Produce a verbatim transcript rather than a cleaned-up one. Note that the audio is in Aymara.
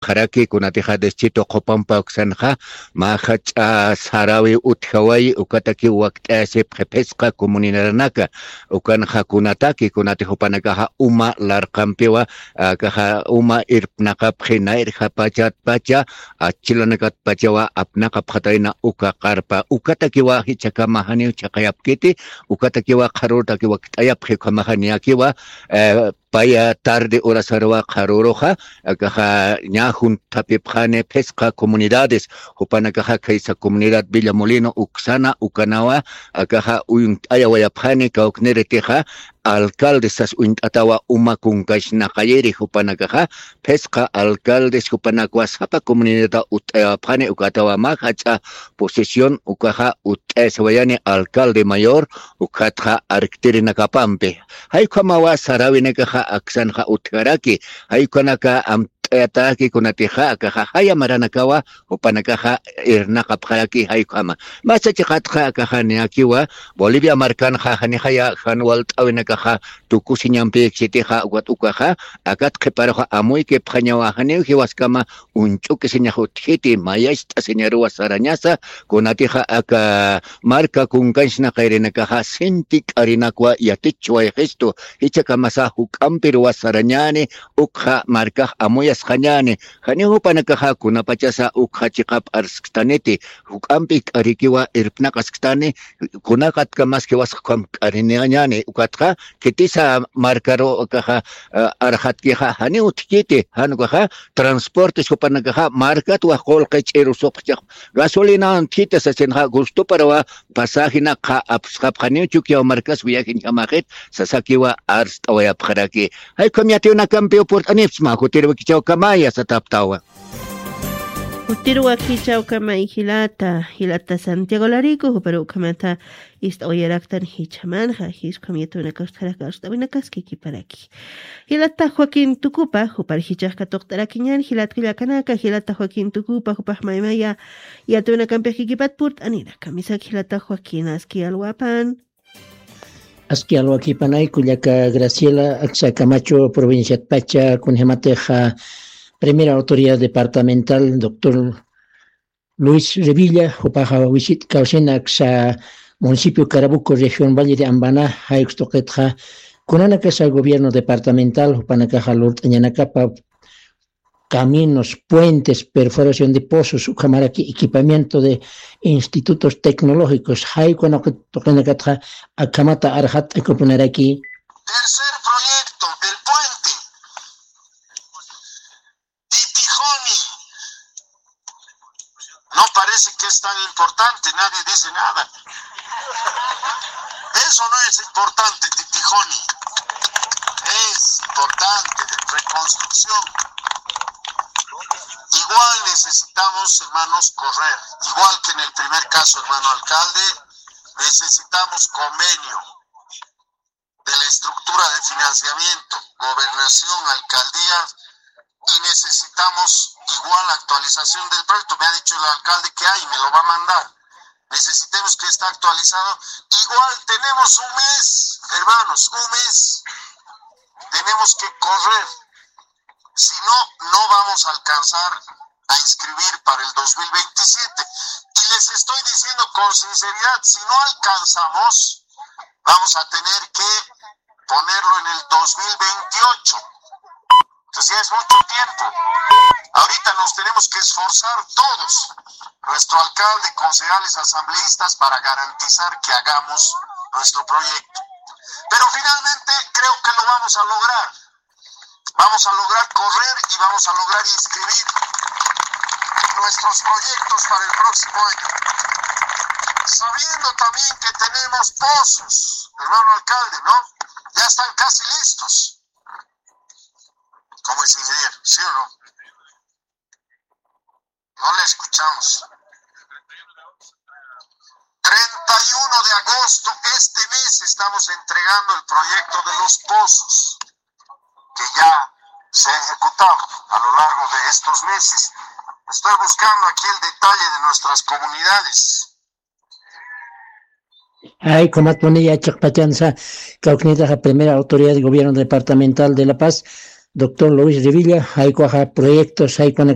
Qharaki kunatixa Deschito qhupampa uksanxa, mä jach'a sarawi utjawayi, ukataki wakt'ayasipxi phisqa comunidadanaka, ukanxa kunataki kunati jupanakaxa uma larqampiwa, akaxa uma irpnaqapxi nayrjapachatpacha, achilanakatpachawa apnaqapxatayna uka qarpa, ukatakiwa jichhakama janiw chhaqayapkiti, ukatakiwa qharurtaki wakt'ayapxi ukhamaxa niyakiwa, eh, paya tarde horasaruwa qharuruxa, akaxa ñä junthapipxani phisqa comunidades, jupanakaxa khaysa comunidad Villa Molino uksana ukanawa, akaxa uñt'ayawayapxani kawkniritixa, alcaldes sas uñt'atawa uma kunkañchnaqayiri jupanakaxa, phisqa alcaldes jupanakwa sapa comunidadta utt'ayawapxani ukatawa mä jach'a posesión ukaxa utt'ayasawayani alcalde mayor, ukatxa arktirinakapampi. Jay ukhamawa saräwinakaxa aksanxa utjaraki, jay ukhanaka amt'ayataki kunatixa akaxa jaya maranakawa, jupanakaxa irnaqapxaraki jay ukhama. Masa chiqatxa akaxa niyakiwa, Bolivia markanxa janixaya jan walt'äwinakaxa tukusiñampïksitixa, ukat ukaxa, akat qhiparuxa amuykipxañawa janiw jiwaskama uñch'ukisiñax utjiti, mayacht'asiñaruwa sarañasa, kunatixa aka marka kunkañchnaqayirinakaxa sinti k'arinakwa yatichwayxistu, jichhakamasa juk'ampiruwa sarañäni, ukxa markax amuyasxañäni, janiw jupanakaxa kunapachasa ukxa chiqap arsktaniti, juk'ampi k'arikiwa irpnaqasktani, kunaqatkamaski wasxkham k'ariniñäni, ukatxa khitisa markaru akaxa, eh, arxatkixa janiw utjkiti, jan ukaxa transportes jupanakaxa markat waj qullqi ch'iru supxchax gasolinawan utjkiti sasinxa gustoparawa pasajenakxa apsxapxaniw Chukiyaw markas viajeñjamaxit sasakiwa arst'awayapxaraki. Jay ukham yatiyunakampiw purt'anipxsma, jutiruwakichawkamaya sataptawa. Jutiruwakichawkamay jilata, jilata Santiago Larico, juparu ukhamata ist'awayaraktan jichhamanxa, jiskham yatiyunakax utjaraki arst'awinakaski kiparaki. Jilata Joaquín Tucupa, jupar jichhax katuqt'arakiñän, jilat kullakanaka, jilata Joaquín Tucupa, jupax maymaya yatiyunakampix kikipat purt'aniraka. Misak jilata Joaquín, aski alwapan. Aski alwakipanay kullaka Graciela, aksa Camacho provinciatpacha, kunjamatixa primera autoridad departamental, doctor Luis Revilla, jupaxa wisit kawsina aksa municipio Carabuco, región Valle de Ambana, jay ukstuqitxa kunanakasa gobierno departamental, jupanakaxa lurt'añanakapa caminos, puentes, perforación de pozos, ukhamaraki equipamiento de institutos tecnológicos, jay ukhama tuqinakatxa akhamata arxat'akupunaraki. Tercer proyecto, el puente Titijoni. No parece que es tan importante, nadie dice nada. Eso no es importante, Titijoni. Es importante de reconstrucción. Igual necesitamos, hermanos, correr. Igual que en el primer caso, hermano alcalde, necesitamos convenio de la estructura de financiamiento, gobernación, alcaldía, y necesitamos igual actualización del proyecto. Me ha dicho el alcalde que hay, me lo va a mandar. Necesitemos que esté actualizado. Igual tenemos un mes, hermanos, un mes. Tenemos que correr. Si no, no vamos a alcanzar a inscribir para el dos mil veintisiete. Y les estoy diciendo con sinceridad, si no alcanzamos, vamos a tener que ponerlo en el dos mil veintiocho. Entonces ya es mucho tiempo. Ahorita nos tenemos que esforzar todos, nuestro alcalde, concejales, asambleístas, para garantizar que hagamos nuestro proyecto. Pero finalmente creo que lo vamos a lograr. Vamos a lograr correr y vamos a lograr inscribir nuestros proyectos para el próximo año. Sabiendo también que tenemos pozos, hermano alcalde, ¿no? Ya están casi listos. ¿Cómo es, ingeniero? ¿Sí o no? No le escuchamos. Treinta y uno de agosto, este mes, estamos entregando el proyecto de los pozos, que ya se ha ejecutado a lo largo de estos meses. Estoy buscando aquí el detalle de nuestras comunidades. Ay, comatuni ya chiqpachansa, kawknitaxa primera autoridad de gobierno departamental de La Paz, Doctor Luis Rivilla, jaykuxa proyectos jaykuna